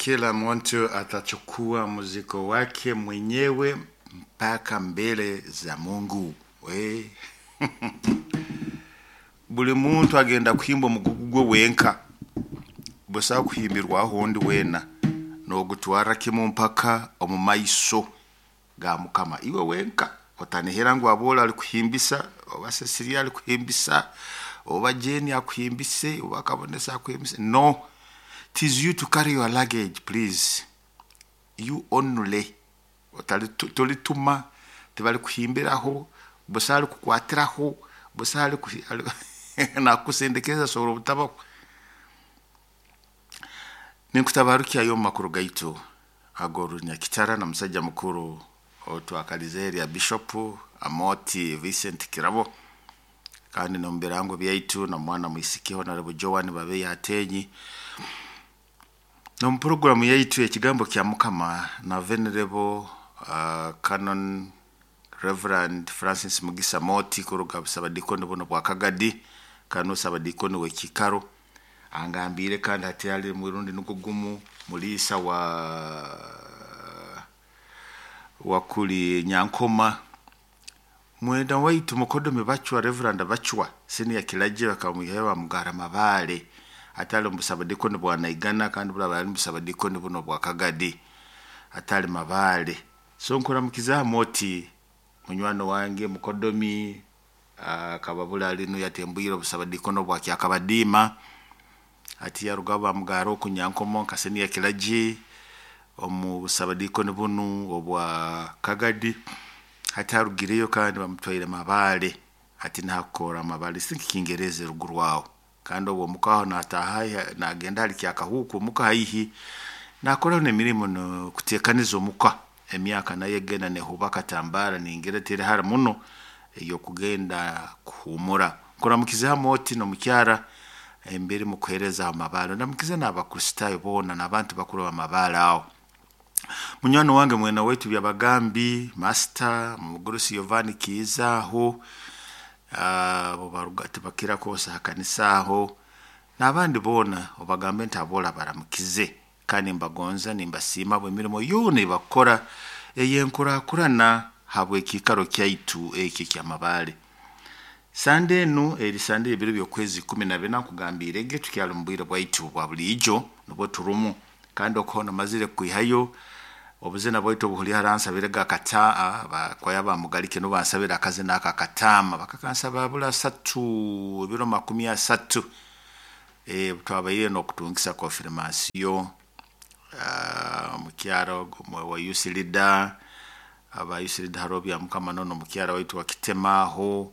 Kila mtu atachukua mzigo wake mwenyewe mpaka mbele za Mungu. We. Buli muntu agenda kuhimba omugugu gwe wenka, busaho kuhimbirwaho ondi weena, nogutwara kimu mpaka omu maiso ga Mukama. Iwe wenka otanihira ngu Abola alikuhimbisa, oba Cecilia alikuhimbisa, oba Jane akuhimbise, oba Kabonesa akuhimbise. No, it is you to carry your luggage, please. You only. Tolituma, tibalikuhimbiraho, busaho alikukwatiraho, busaho nakukusindikiriza sobora obutabaho. Ninkutabarukyayo omu makuru gaitu ag'orunyakitara na musajja mukuru otwakalize erya Bishop Amoti Vincent Kirabo, kandi n'omu birango byaitu na mwana mwisiki Honorable Joan Babeya Atenyi. N'omu puroguramu yaitu ekigambo kya Mukama na Venerable Canon Reverend Francis Mugisa Moti kuruga busabadikoni buno bwa Kagadi, kandi n'osabadikoni w'ekikaro. Angambire kandi hati ali mwirundi nugwo gumu muliisa wa kuli Nyankoma. Mwenda waitu mukodomi Bachwa, Reverend Bachwa senior kilaje bakamwihayo bamugara Mabale, atali omusabadikoni bwa Naigana, kandi bulaba ali musabadikoni buno bwa Kagadi, atali Mabale. So nkuramukiza Moti munywano wange mukodomi, akaba alinu yatembwire obusabadikono bwa Kyakabadiima, ati yaruga bamugara oku Nyankomo nka senior kilaje omu busabadikoni bunu obwa Kagadi. Hati arugireyo kandi bamutwaire Mabale, ati nakora Mabale sinki Kingereza ruguru aho. Kandi obwo omukaho nataha nagenda hali Kyakahuku omuka haihi nakoraho n'emirimo no kuteekaniza omuka. Emyaka nayo egenda nehuba katambara ningira teri hara muno ey'okugenda kuhumura. Nkuramukiza Moti n'omukyara emberi mukuheereza Mabale, ndamukize n'Abakristaayo boona n'abantu bakuru b'Amabale aho. Munywani wange mwena waitu Byabagambi Master Mugurusi Yovani Kiiza aho, abo baruga tibakira kwosa ha kanisa aho, n'abandi boona obagambe nti abola baramukize, kandi mbagonza nimbasiima habw'emirimo yoona ebakukora ey'enkurakurana habw'ekiikaro kyaitu eki eky'Amabale. Sande enu eri sande y'ebiro by'okwezi 14, nkugambiire ge tukyali omu bwire bwaitu bwa buliijo nubwo turumu, kandi okuho namazire kwihayo obuzina bwaitu obuhuli haransabirege akataa bakwaya bamugalike nubo bansabira akazina aka akataama, bakakansaba bula 30 ebiro 30. Twabaire n'okutungisa konfirmasiyo omukyaro wa youth leader, aba youth leader haroho Byamukama nono omukyara waitu wa Kitema aho,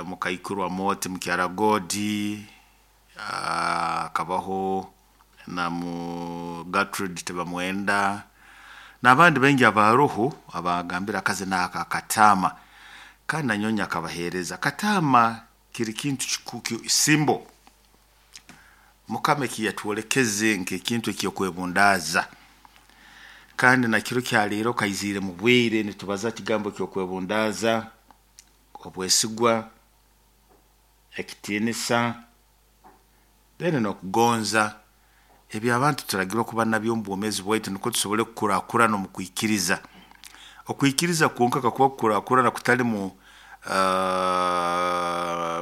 mukaikuru wa Moti mukyara Godi, akabaho na mu Gertrude Tebamwenda n'abandi baingi abaroho abagambira akazina aka akataama, kandi nanyowe akabaheereza. Kataama kiri kintu simbo Mukama ekiyatwolekeze nk'ekintu ekyokwebundaaza, kandi na kiro kyaleero kaiziire mu bwire nitubaza kigambo ky'okwebundaaza, obwesigwa, ekitiinisa, then n'okugonza. Ebi abantu turagirwa kuba nabyo omu bwomeezi bwaitu nukwo tusobole kukurakurana omu kwikiriza. Okwikiriza kwonka kakuba kukurakurana kutalimu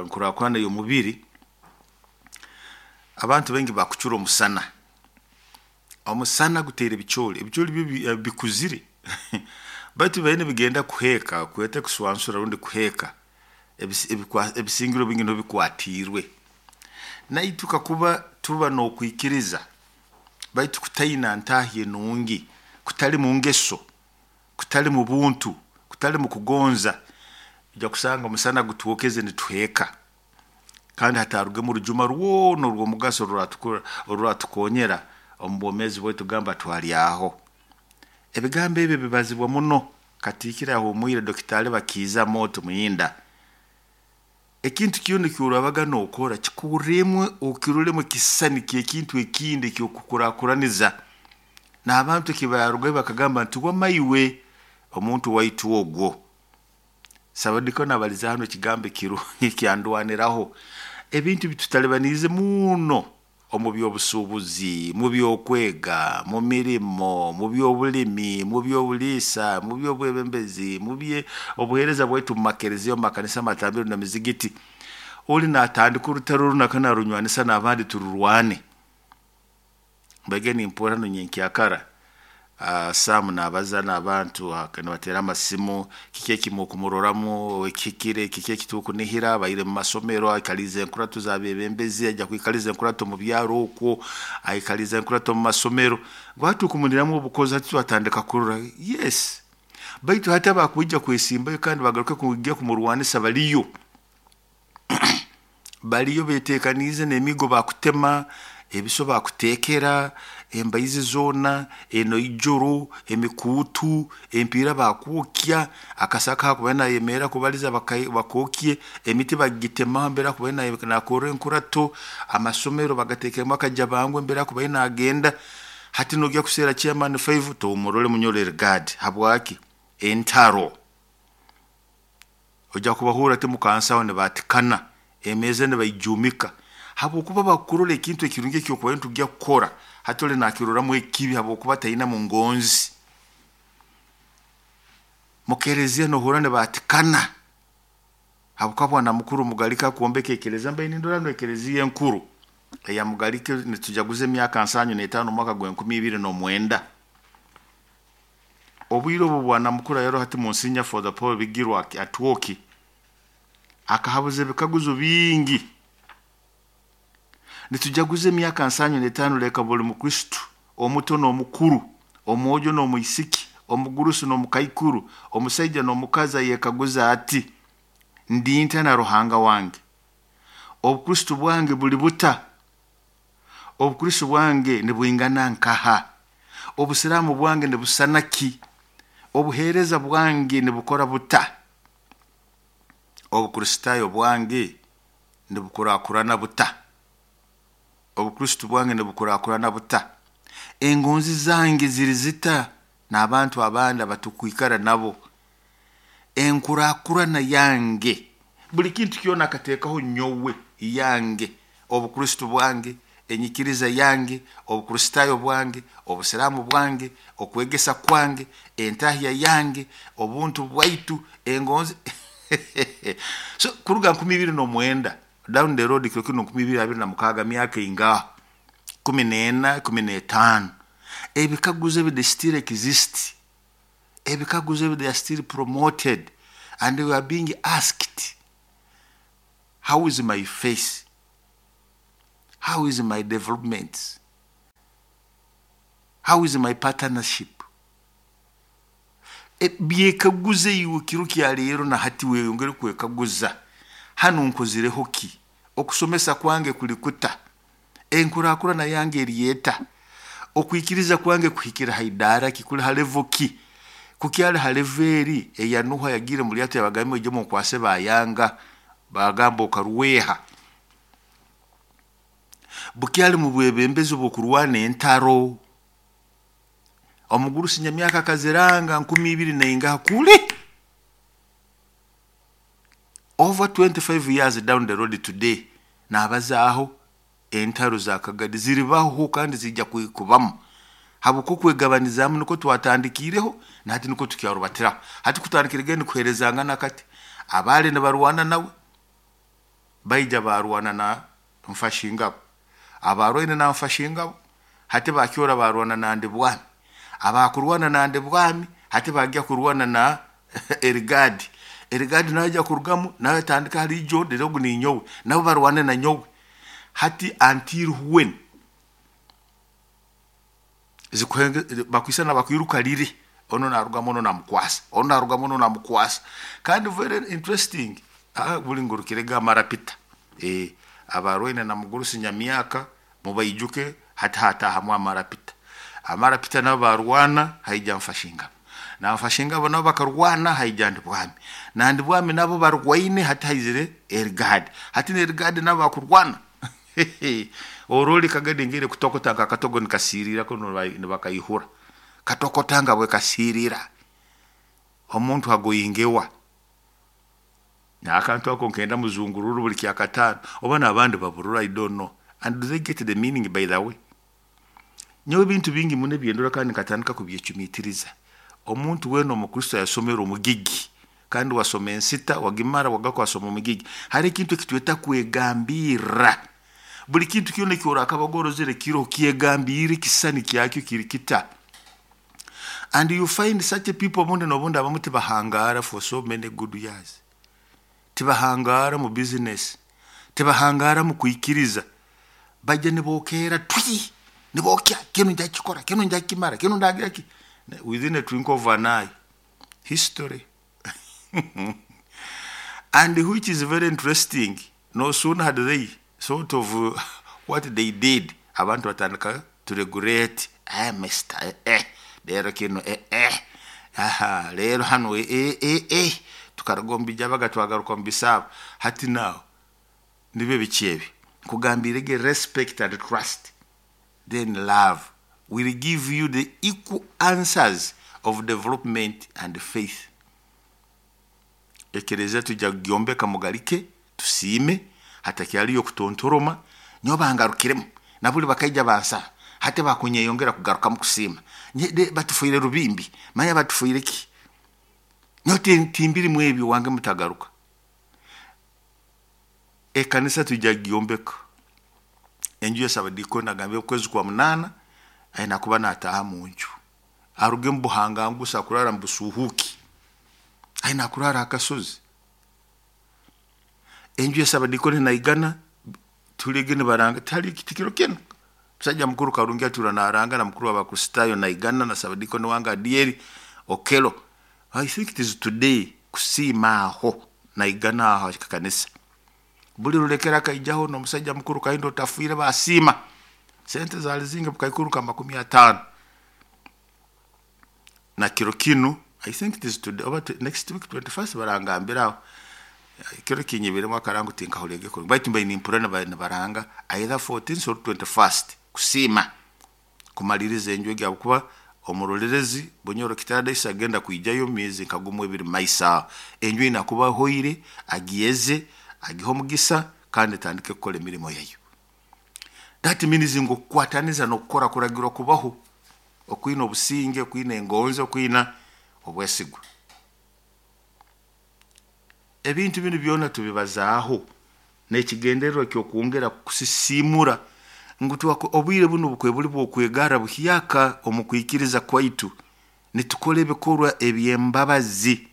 nkurakurana ey'omubiri, abantu baingi bakucura omusana. Omusana guteera ebicooli, ebicooli byo bikuzire baitu bibaire nibigenda kuheeka, kwete kuswansura rundi kuheeka, ebisingiro bingi nibyo bikwatiirwe. Naitwe kakuba tuba n'okwikiriza baitu kutaina ntaahi enungi, kutali mu ngeso, kutali mu buntu, kutali mu kugonza, ojja kusanga omusana gutwokeze nituheeka, kandi hatarugemu orujuma rwona orw'omugaso oruratukonyera omu bwomeezi bwaitu gamba twalyaho. Ebigambo ebi bibazibwa muno katiikiro ahumwire Dokitaali Bakiiza Moti Muyinda. Ekintu kyona ekyorabaga nokora kikurremu okirolemu ekisisani ky'ekintu ekindi eky'okukurakuraniza. N'abantu ekibarugayo bakagamba nti wama iwe omuntu waitu ogwo. Sabadikoni abaliza hanu ekigambo ekirungi kyandwaniraho. Ebintu bitutalibaniize muno Omu by'obusuubuzi, mu by'okwega, mu mirimo, mu by'obulimi, mu by'obuliisa, mu by'obwebembezi, mu bye obuheereza bwaitu mu makereziya, omu makanisa, amatambiro n'emizigiti. Oli naatandika orutaro runaka narunywanisa n'abandi tururwane. Mbaige nimpurra hanu nyenkyakara Sam naabaza n'abantu nibateera amasimu, kiki eki mukumuroramu ekihikire, kiki eki tukunihira, abaire mu masomero aikaliize enkurato z'abeebembezi, aija kwikaliza enkurato mu byaro okwo, aikaliize enkurato mu masomero. Ngu hati tukumuniramu obukozi hati twatandika kurora, yes, baitu hati abakwija kwesimbayo kandi bagaruke kwija kumurwanisa baliyo. Baliyo beetekaniize n'emiigo bakutema, ebiso bakuteekera, embaizi zoona, enoijoro, emikuutu, empiira bakwokya, akasaka hakuba nayemerra kubaliza bakookye, emiti bagitemaho mbere akuba nakorra enkurato, amasomero bagateekemu akajabangu mbere akuba nagenda. Hati nogya kuseera chairman 5 tomurole munyoro Erigadi. Habwaki? Entaro. Ojja kubahurra timukansaho nibatikana, emeeza nibaijumika. Habwokuba bakurora ekintu ekirungi ekyokuba nitujya kukora, hati oli nakiroramu ekibi habwokuba tainamu ngonzi. Mukereziya nohurra nibatikana habwokuba bwana mukuru Mugalike akwombeka ekereziya, mbaire nindora nu ekereziya enkuru eya Mugalike nitujaguza emyaka 75 omwaka gwa 2009. Obwire obu bwana mukuru ayaro hati Monsignor Father Paul Bigirwa Atwoki akahabuza ebikaguzo bingi. Nitujaguza emyaka 75, leka buli mukristo omuto n'omukuru, omwojo n'omwisiki, omugurusi n'omukaikuru, omusaija n'omukazi ayekaguza ati, ndinta na Ruhanga wange? Obukristo bwange buli buta? Obukristo bwange nibwingana nkaha? Obusiraamu bwange nibusana ki? Obuheereza bwange nibukora buta? Obukristaayo bwange nibukurakurana buta? Obukristo bwange nibukurakurana buta? Engonzi zange ziri zita n'abantu abandi abatukwikara nabo? Enkurakurana yange, buli kintu kyona akateekaho nyowe yange, obukristo bwange, enyikiriza yange, obukristaayo bwange, obusiraamu bwange, okwegesa kwange, entahya yange, obuntu bwaitu, engonzi. So kuruga 2009 down the road, kiro kino 2026, myaka ingaha? 14, 15. Ebikaguzo ebi, they still exist. Ebikaguzo ebi, they are still promoted and we are being asked, how is my face? How is my development? How is my partnership? Byekaguze iwe kiro kya leero na hati, weyongere kwekaguza, hanu nkozireho ki? Okusomesa kwange kuli kuta? Enkurakurana yange eryeta? Okwikiriza kwange kuhikira haidara ki? Kuli ha level ki? Kukyali ha level eri eya Nuha yagiire mu lyato, yabagambye ije munkwase, bayanga, bagamba okaruweha. Bukyali mu bwebembezi obw'okurwana entaro. Omugurusi nyamyaka akaziranga 2000 naingaha kule, over 25 years down the road today, nabazaaho entaro za Kagadi ziribaho kandi zijja kubamu habwokuba okwegabanizaamu nikwo twatandikiireho nahati nikwo tukyarubatiraho. Hati kutandikira genda kuheerezangana kati abaali nibarwana nawe baija barwana na Nfashingabo, abarwaine na Nfashingabo hati bakyora barwana na Ndibwami, abakurwana na Ndibwami hati bagya kurwana na Erigadi. Erigadi nawe ajya kurugamu nawe atandika hali ijo ogu ninyowe, nabo barwane na nyowe hati until when bakwisana bakwiruka riri, ono narugamu, ono namukwasa, ono narugamu, ono namukwasa. Kandi very interesting, buli ngurukirega amarapita abarwaine na mugurusi nyamyaka mubaijuke. Hati hatahamu amarapita, amarapita nabo barwana, haija Nfashingabo na Nfashingabo nabo bakarwana, haija Ndibwami na Ndibwami nabo barwaine, hati haizire Erigadi, hati na nabo bakurwana. Oroli Kagadi ngire kutokota nka katogo nikasirira ko nibakayihura katokota nga bwe kasirira omuntu agoyingewa nakantu ako nkenda muzungururu buli kyakatano oba n'abandi baburura, I don't know. And do they get the meaning, by the way? Nyowe ebintu bingi muno ebyendora kandi nkatandika kubyecumitiriza. Omuntu weena omukristo yasomera omugigi, kandi wasoma ensita wagimara wagaruka wasoma omugigi, hari ekintu ekitweta kwegambirra. Buli kintu kyona ekyorakaba orozere kiroho kyegambirre ekisisani kyakyo kiri kita. And you find such a people obundi n'obundi abamu tibahangara for so many good years. Tibahangara mu business, tibahangara mu kwikiriza. Bajja nibokeera twi, nibokya, kinu njakikora, kinu njakimara, kinu ndagira ki. Within a twinkle of an eye, history. And which is very interesting, no sooner had they sort of what they did, abantu batandika to regret. Eh, mister, eh, eh, rero kino, eh, eh, aha, rero hano, eh, eh, eh, eh, tukaruga omu bijabaga twagaruka omu bisaabo. Hati now, nibyo biki ebi? Nkugambire respect and trust, then love will give you the equal answers of development and faith. Ekereziya tujja kugyombeka mugalike, tusiime, hatakyaliyo kutontoroma, nyowe bangarukiremu, nabuli bakaija bansaba, hati bakunyeyongera kugarukamu kusiima. Batufuire rubimbi, manya batufuire ki? Nyowe timbirimu ebyo wange mutagaruka. Ekanisa tujja kugyombeka. Enju ya Sabadikoni agambye okwezi kwa 8 aina kuba nataha mu nju. Aruge mu buhangangusa kurara mu busuhuki. Aina kurara akasozi. Enju ya Sabadikoni naigana tulege nibaranga tali kitikiro kino. Musajja mukuru Karungi atura naranga na mukuru w'Abakristayo naigana na Sabadikoni wanga Adieri Okelo. I think it is today kusiima aho naigana aho kanisa. Buli rulekera kaijaho n'omusajja mukuru Kahindo otafiire basiima. Sente zali zingi bukaikuru ka 50. Na kiro kinu, I think it is today, oba next week 21st barangambira aho. Kiro kinyibiremu akarango tinkahurege kurungi. Baitu mbaine nimpurira nibaranga either 14th or 21st kusiima kumaliriza enju egi ahabwokuba omurorerezi Bunyoro Kitadesi agenda kwijayo myezi nka gumu ebiri maiso aho. Enju eine kuba ahoire, agiyeze, agihe omugisa kandi etandike kukora emirimo yayo. That means ngu okukwataniza n'okukora kuragirwa kubaho, okwina obusinge, okwina engonzi, okwina obwesigwa. Ebintu binu byona tubibazaaho n'ekigendererwa ky'okwongera kusisimura ngu obwire bunu bukwe buli bw'okwegara buhyaka omu kwikiriza kwaitu. Nitukora ebikorwa eby'embabazi,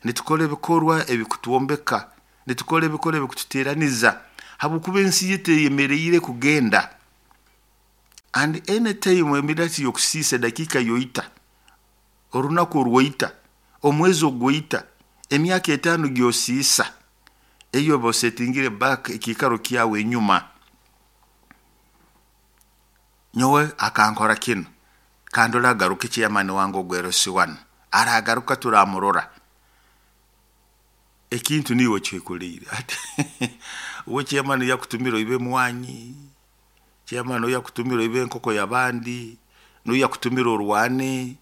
nitukora ebikorwa ebikutwombeka, nitukora ebikorwa ebikututeraniza, habwokuba ensi yaitu eyemereire kugenda. And anytime emirati y'okusiisa edakiika yoita, orunaku orwoita, omwezi ogwoita, emyaka 5 gyosiisa, eyo oba osetingire back ekiikaro kyawe enyuma. Nyowe akankora kinu, kandi oragaruka chairman wange ogw'RC1, aragaruka turamurora. Ekintu niiwe okyekuliire. Ati uwe chairman yakutumira oibe mwanyi, chairman oyo yakutumira oibe enkoko y'abandi, n'oyu yakutumira orwane,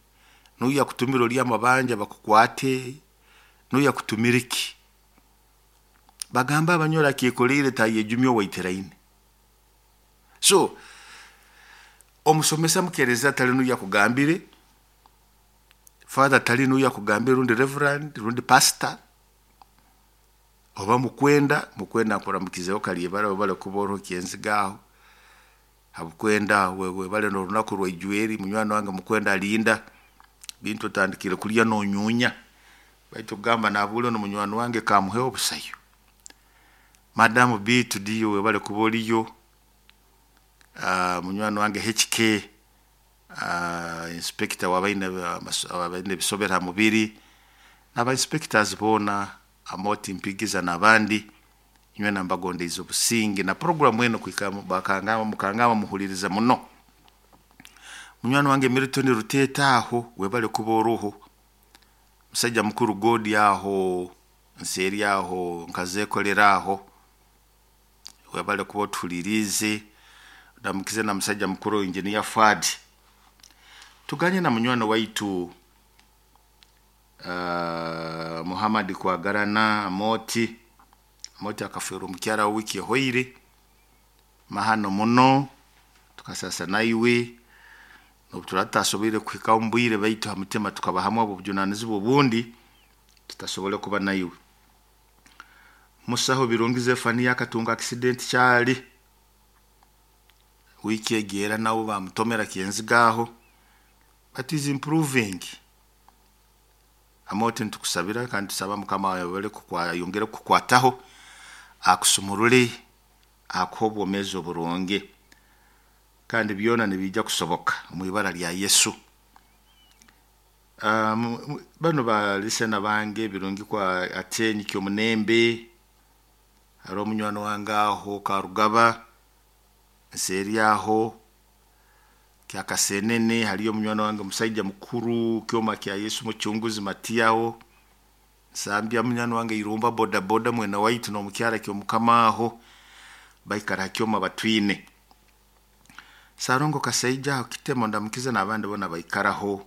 n'oyu yakutumira orye amabanja bakukwate, n'oyu yakutumira ki? Bagamba abanyoro akyekoleire tayejumya owaiteraine. So omusomesa mukereza tali n'oyu yakugambire, father tali n'oyu yakugambire, rundi reverend, rundi pastor, oba mukwenda, mukwenda nkuramukizeho kalyebara webale kuba oroho kyenziga aho. Habukwenda webale n'orunaku rwaijweri, munywani wange mukwenda alinda bintu otandikire kulya n'onyunya. Baitu kugamba nabule no munywani wange kamuheho obusayo. Madamu Bitu diyo webale kuba oriyo. Munywani wange HK, inspector wabaine ebisobera mubiri, n'aba inspectors boona Amoti Mpigiza n'abandi, nywe nambagondeize obusinge na program eno kuhika bakangamba mukangamba muhuliriza muno. Munywani wange Milton Ruteta aho webale kuba oruho. Musajja mukuru Godi aho nseeri aho nkazekolera aho webale kuba otuhulirize. Ndamukize na musajja mukuru engineer Fuad. Tuganye na munywani waitu Muhammad Kwagarana Amoti. Amoti akaferwa omukyara wiki ehoire. Mahano muno tukasasa naiwe obu turaba tutasoboire kuhikaho omu bwire, baitu ha mutima tukaba hamu obujunanizibwa obundi tutasobole kuba naiwe. Musaho Birungi Zefaniya akatunga accident kyali wiiki egi, era nabo bamutomera Kyenziga aho, but is improving. Amooti nitukusabira kandi tusaba Mukama ayongere kukukwataho, akusumurule, akuhe obwomeezi oburungi, kandi byona nibiija kusoboka omu ibara lya Yesu. Banu balisena bange Birungi kwa Atenyi Kyomunembe, haroho omunywani wange aho Karugaba nseeri aho Kyakasenene, haliyo omunywani wange musaija mukuru Kyoma kya Yesu Mucunguzi Matiyaho Nsambya, munywani wange Irumba boda boda mwene waitu n'omukyara Kyomukama aho baikara ha Kyoma Batwine. Sarongo Kasaija aho Kitemo ndamukize n'abandi boona baikaraho.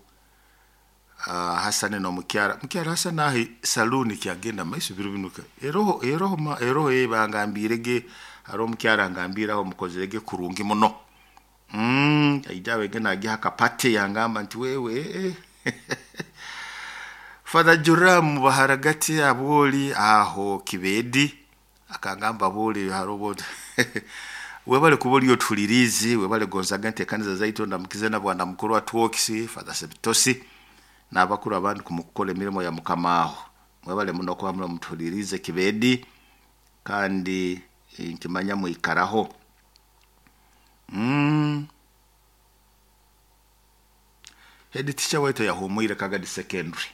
Hasani n'omukyara mukyara Hasani aho saluuni kyagenda maiso biro binu eroho eroho eroho bangambirege, haroho omukyara angambiire aho mukozerege kurungi muno. Aija abege nagiha akapate yangamba nti wewe Father Joram Baharagati abwoli aho Kibedi akangamba bwoli haroho webale kuba oli otuhuliriize, webale gonzaga enteekaniza zaitu. Ndamukize na bwana mukuru wa Twokisi Father Sebitosi n'abakuru abandi kumukukora emirimo ya Mukama aho. Mwebale muno kuba muno mutuhuliriize Kibedi, kandi nkimanya mwikaraho. Head teacher waitu yahumwire Kagadi Secondary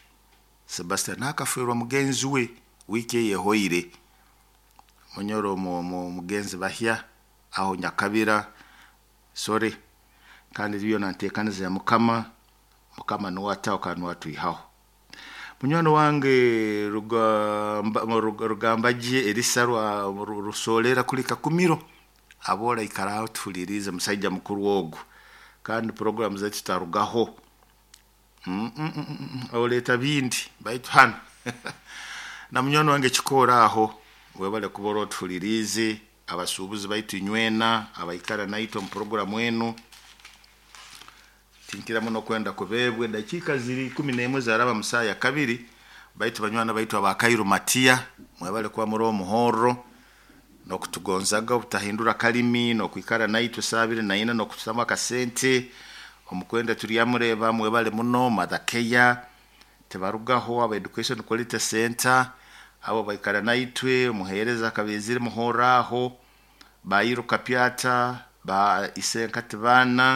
Sebastian akaferwa mugenzi we wiiki eyehoire, munyoro mugenzi bahya aho Nyakabira, sorry. Kandi byona nteekaniza ya Mukama, Mukama nuwe ataho kandi nuwe atwihaho. Munywani wange Rugambagye Erisa Rusolera kuli Kakumiro aboora aikaraho tuhuliriize, musaija mukuru ogu, kandi programu zaitu tutarugaho. Oleeta bindi baitu hanu na munywani wange Kikoora aho webale kuba ori otuhuliriize, abasuubuzi baitu inywena abaikara naitwe omu programu enu. Tinkira muno kwenda kubeebwe, dakiika ziri 11 zaraba mu saaha ya kabiri. Baitu banywani baitu aba Kairu Matiya mwebale kuba muri omuhorro n'okutugonzaga obutahindura kalimi n'okwikara naitwe saaha 24 n'okututamu akasente omukwenda turyamureeba. Mwebale muno Mother Care tibarugaho, aba Education Quality Center abo baikara naitwe, omuheereza Kabezire muhorro aho, Bairu Kapyata ba Isenkati baana.